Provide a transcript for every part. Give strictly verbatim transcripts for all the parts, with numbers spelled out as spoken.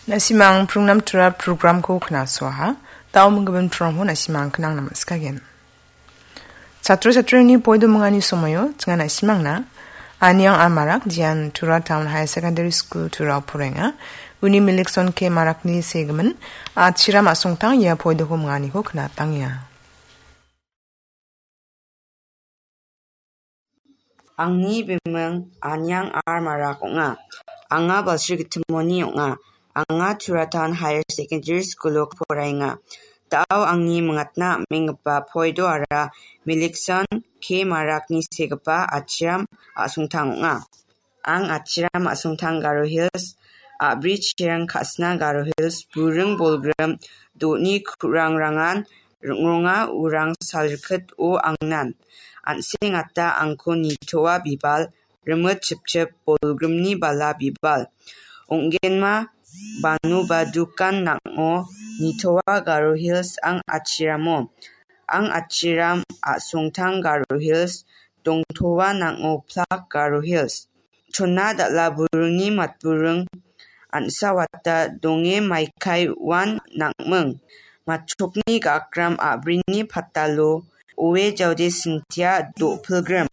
Na·simang prungnam tura programko knasoaha. Dao minggimin prongho na·simang knang naman skagen. Chatro chatrini poido mingani somoyo, tsinga na·simangna, Aniang Amarak, Jian Tura Town Higher Secondary School Tura porenga, uni milikson ke marakni segimin, achiram asongtang ia poidoko minganiko knatangia. Angni biming Aniang R Marak ong·a. Anga Balsrigittimoni ong·a. Anga Turatan Higher Secondary School-o poraenga. Dao angni mingatna am·enggipa poido ara milikson ke marakni segipa achiram asongtang ong·a. Ang achiram asongtang Garo Hills, a·bri chiring ka·sna Garo Hills, buring bolgrim, do·ni ku·rangrangan ring·ronga urang salrikit o angnan. An·seng ata angko nitoa bibal, rimit chipchip bolgrimni bala bibal. Ong·genma banu ba dukan nang·o nitoa Garo Hills ang achiramo. Ang achiram asongtang Garo Hills, dongtoa nang·o plak Garo Hills. Chona dal·a buringni matburing an·sa wata donge maikai uan nang·ming. Matchokni gakram a·brini patalo oe jaode sintia do·pilgrim.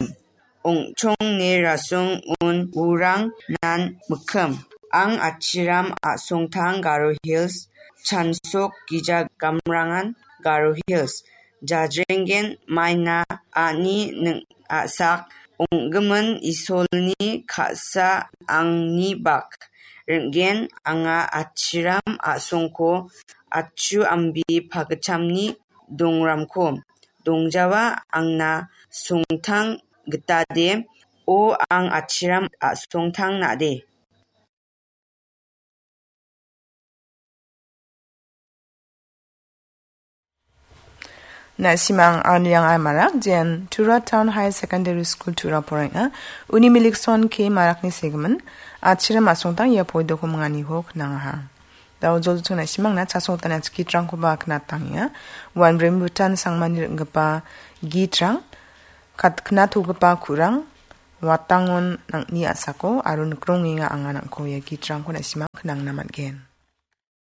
Ong·chong ne rasong un urang nan mikkim. Ang achiram asongtang Garo Hills, chansok gija gamrangan Garo Hills. Jajrenggen maina ani ning a·sak ong·gimin Isolni ka·sa angni bak. Ring·gen anga achiram a·songko achu ambi pagitchamni dongramko. Dongjawa angna songtang gitade, o ang achiram a·songtang nade. Na·simang Arliang Almarak, Jen Tura Town Higher Secondary School Tura porenga. Uni milikson ke marakni segimin, achiram asongtang ia poidoko minganiko knangaha. Dao jolchung na·simangna chasongtani atskitrangkoba knatangenga. Wan Rembutan Sangmani ring·gipa gitrang, kat-, knatogipa ku·rang, watangon nang·ni a·sako aro nikrongenga anga nang·ko ia gitrangko na·simang knangna man·gen.